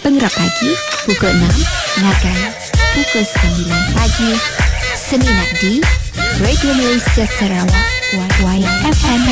Pengerap Pagi pukul 6 ngagai pukul 9 pagi semina di Radio Malaysia Sarawak YFM.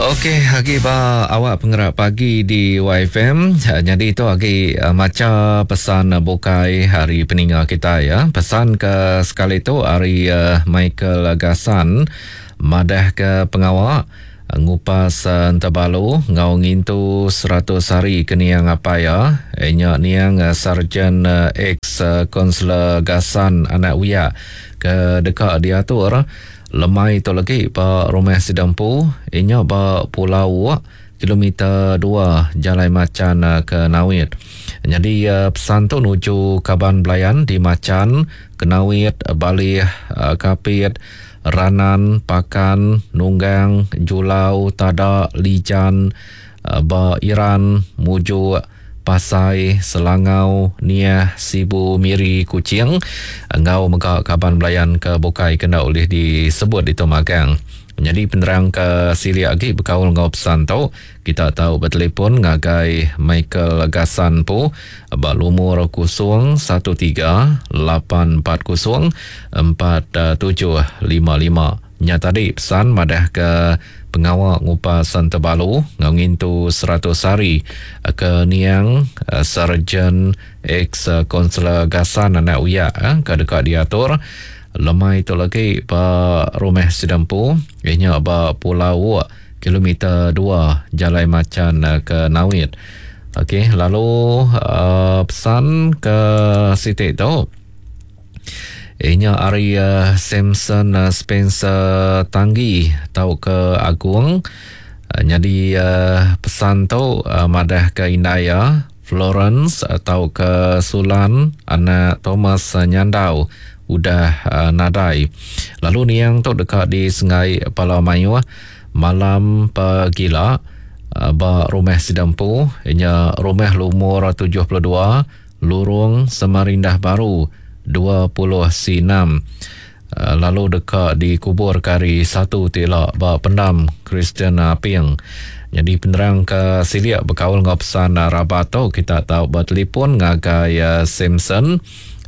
Okey, agi ba awak pengerak pagi di YFM. Jadi tu agi eh, maca pesan bukai hari peninga kita ya. Pesan ke sekali tu hari eh, Michael Gasan madah ke pengawa Ngupas Entebalu enggau ngintu 100 hari ke niang apai iya, nya niang Sarjan ex Konselor Gasan Anak Wiak ke deka diatur lemai tu legi ba rumah sida empu nya ba Pulau Wok, kilometer dua Jalai Machan ke Nawit. Nyadi pesan tu nuju kaban belayan di Machan, Kenawit, Balih, Kapit, Ranan, Pakan, Nunggang, Julau, Tada, Lijan, ba Iran, Mujuk, Pasai, Selangau, Niah, Sibu, Miri, Kuching enggau mega kaban belayan ke bukai ke enda ulih disebut ditu magang. Nyadi penerang ke silik agi bekaul enggau pesan tu, Kita tau betelefon ngagai Michael Gasan empu ba lumur 01 3 840 4755. Nya tadi pesan madahka pengawa ngupas Entebalu enggau ngintu 100 hari ke niang Sarjan ex-Konselor Gasan anak Uyak ke deka diatur lemai tu lagi ba rumah sida empu iya nya ba Pulau Wok. Kilometer dua Jalai Machan ke Nawit. Okey, lalu uh, pesan ke siti tu inya ari uh, Samson uh, Spencer Tanggi tau ke Agung. Uh, nyadi uh, pesan tu uh, madah ke indai iya Florence tau ke Sulan anak Thomas Nyandau udah nadai. Lalu niang tu deka disengai pala mayuh malam pegila ba rumah sida empu nya rumah lumur 72 Lurung Semarindah Baru 20 C 6 lalu deka dikuburka hari Satu ti ila ba pendam Kristian Aping. Nyadi penerang ke silik bekaul enggau pesan rabat tu kita tau betelefon ngagai Samson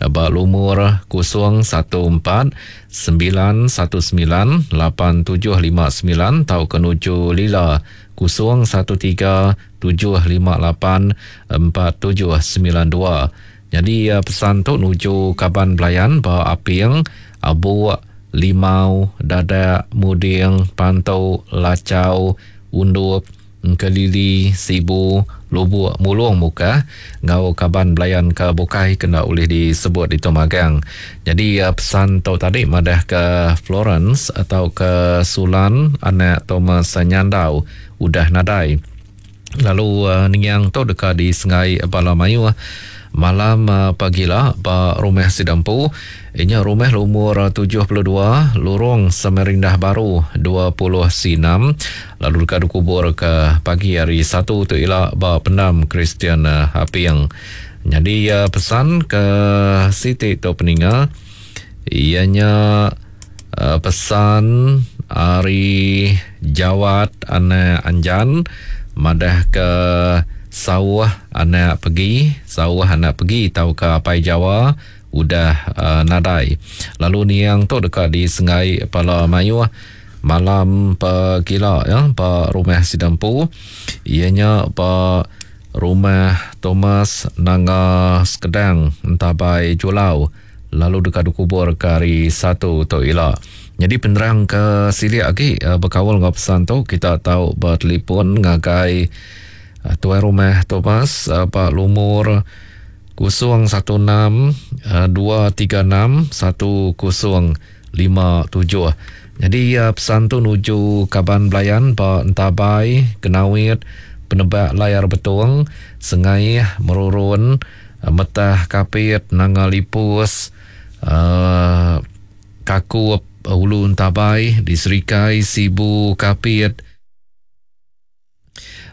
ba lumur 014 919 8759 tauka nuju Lila 013 758 4792. Nyadi pesan tu nuju kaban belayan ba Aping, Abuk, Limau, Dadak, Muding, Pantu, Lachau, Undup, Engkelili, Sibu, Lubuk Mulung Mukah enggau kaban belayan ke bukai ke enda ulih disebut ditu magang. Nyadi pesan tu tadi madahka Florence tauka Sulan anak Thomas Nyandau udah nadai. Lalu niang tu deka disengai bala mayuh malam pagila ba rumah sida empu inya rumah lumur 72 Lurong Semarindah Baru 20 C 6 lalu deka dikubur ke pagi hari Satu tu ila ba pendam Kristian Aping. Nyadi pesan ke siti tu peninga iya nya Pesan ari Jawat anak Anjan madahka sauh anak pegi, sauh anak pegi tauka apai Jawa udah nadai. Lalu niang tu deka disenggai pala mayuh malam pegila ya ba rumah sida empu iya nya ba Rumah Thomas Nanga Sekedang Entabai Julau. Lalu deka dikubur ke hari Satu tu ila. Nyadi penerang ke silik agi bekaul enggau pesan tu kita tau betelefon ngagai Tuai Rumah Thomas ba lumur 016 236 1057. Nyadi pesan tu nuju kaban belayan ba Entabai, Kenawit, Penebak Layar Betong, Sengaih, Merurun, Metah Kapit, Nanga Lipus, Kakup, Ulu Entabai, di Serikai, Sibu, Kapit,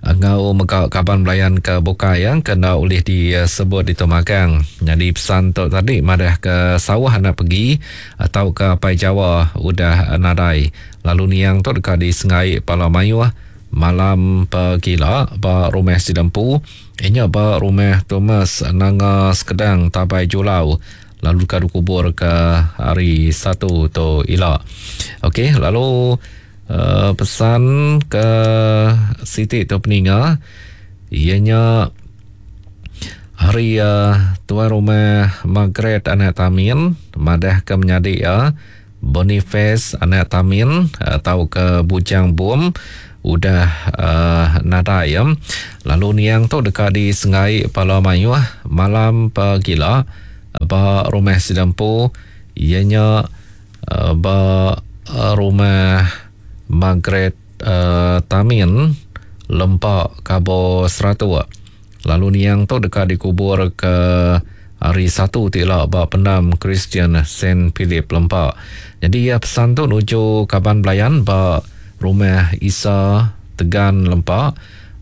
enggau mega kaban belayan ke bukai ke enda ulih disebut ditu magang. Nyadi pesan tu tadi madah ke sauh anak pegi tauka apai Jawa udah nadai lalu niang tu deka disengai pala mayuh. malam pegila ba rumah sida empu inya ba rumah Thomas Nanga Sekedang Tabai Julau lalu deka dikubur ke hari Satu tu ila. Okey lalu uh, pesan ke siti tu peninga iya nya hari uh, tuai rumah Margaret anak Tamin madah ke menyadi iya Boniface anak Tamin tauka Bujang Bum udah nadai iya. Lalu niang tu deka disenggai pala mayuh malam pegila ba rumah sida empu iya nya ba rumah Margaret Tamin Lempa Kabo Seratuk. Lalu niang tu deka dikubur ke hari Satu ti ila ba Pendam Kristian Saint Philip Lempa. Nyadi iya pesan tu nuju kaban belayan ba Rumah Isa Tegan Lempa,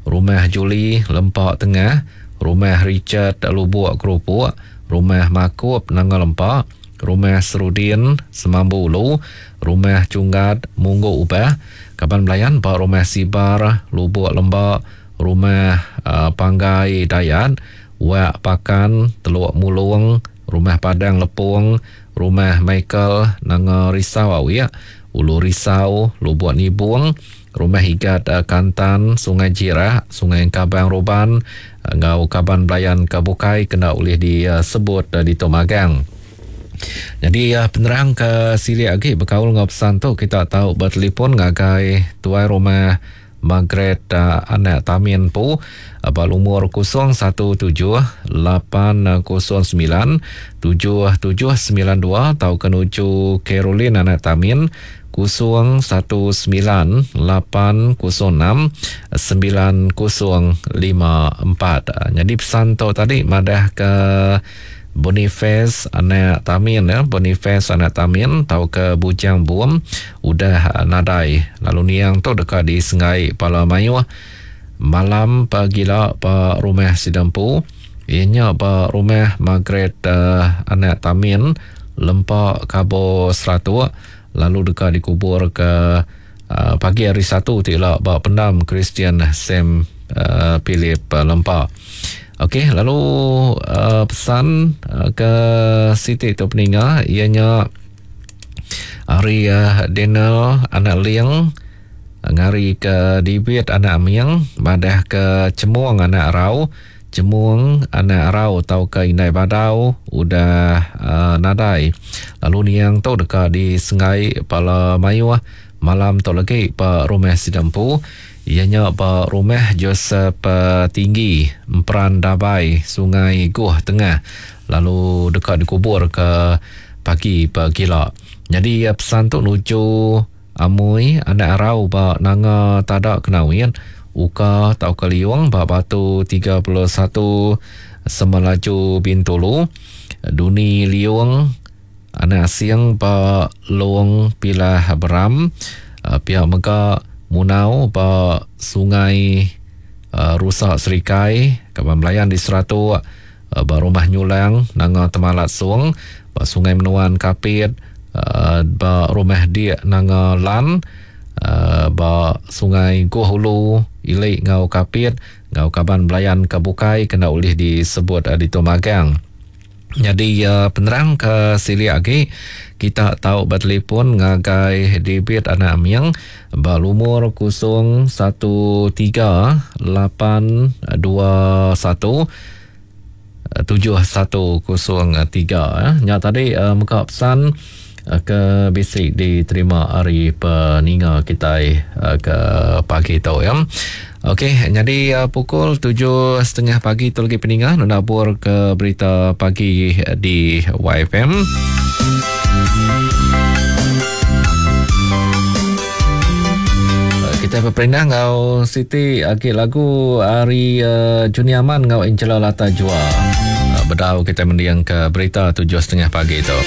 Rumah Julie Lempa Tengah, Rumah Richard Lubok Kerupuk, Rumah Makup Nanga Lempa, Rumah Serudin Semambu Ulu, Rumah Chunggat Munggu Ubah, kaban belayan ba Rumah Sibar Lubok Lemba, Rumah Panggai Dayat, Wak Pakan, Teluk Mulung, Rumah Padang Lepong, Rumah Michael Nanga Risau Awik, Ulu Risau, Lubuk Nibung, Rumah Igat Kantan, Sungai Jirak, Sungai Engkabang Ruban enggau kaban belayan ke bukai kena ulih disebut ditu magang. Nyadi penerang ke silik agi bekaul enggau pesan tu kita tau betelefon ngagai tuai rumah Margaret anak Tamin empu ba lumur 017 809 7792 tauka nuju Caroline anak Tamin 019 806 9054. Nyadi pesan tu tadi madah ke Boniface anak Tamin ya, Boniface anak Tamin tauka Bujang Bum udah nadai lalu niang tu deka disenggai pala mayuh malam pagila ba rumah sida empu iya nya ba rumah Margaret uh, anak Tamin Lempa Kabo Seratuk lalu deka dikubur ke uh, pagi hari Satu ti ila ba pendam Kristian Sam uh, Philip Lempa. Okey, lalu uh, pesan uh, ke siti tu peninga iya nya ari uh, Daniel anak Ling ngari ke Dibit anak Aming madah ke Cemung anak Rau Cemung anak Rau tauka Indai Badau udah uh, nadai lalu niang tu deka disenggai pala mayuh malam tu lagi ba rumah sida empu iya nya ba rumah Joseph Tinggi Emperan Dabai Sungai Goh Tengah lalu deka dikubur ke pagi pegila. Nyadi pesan tu nuju Amui anak Arau ba Nanga Tada Kenawit Uka tauka Liung ba Batu 31 Semelaju Bintulu Duni Liung Anak Asing ba Long Pilah Beram pia mega Munau ba Sungai Rusa Serikai kaban belayan di Seratok ba Rumah Nyulang Nanga Temalat Song ba Sungai Menuan Kapit ba Rumah Dik Nanga Lan ba Sungai Goh Ulu Ili enggau Kapit enggau kaban belayan ke bukai kena ulih disebut ditu magang. Nyadi penerang ke silik agi kita tau betelefon ngagai David anak Aming ba lumur 013 821 7103. Nya tadi mega pesan ke bisi diterima ari peninga kitai ke pagi tu ya. Okey, nyadi pukul 7.30 pagi tu lagi peninga nabur ke berita pagi di YFM. Kita berperindang ngau Siti agi lagu ari uh, Juni Aman ngau Angela Lata Jua. Bedau kita mendiang ke berita 7.30 pagi tu.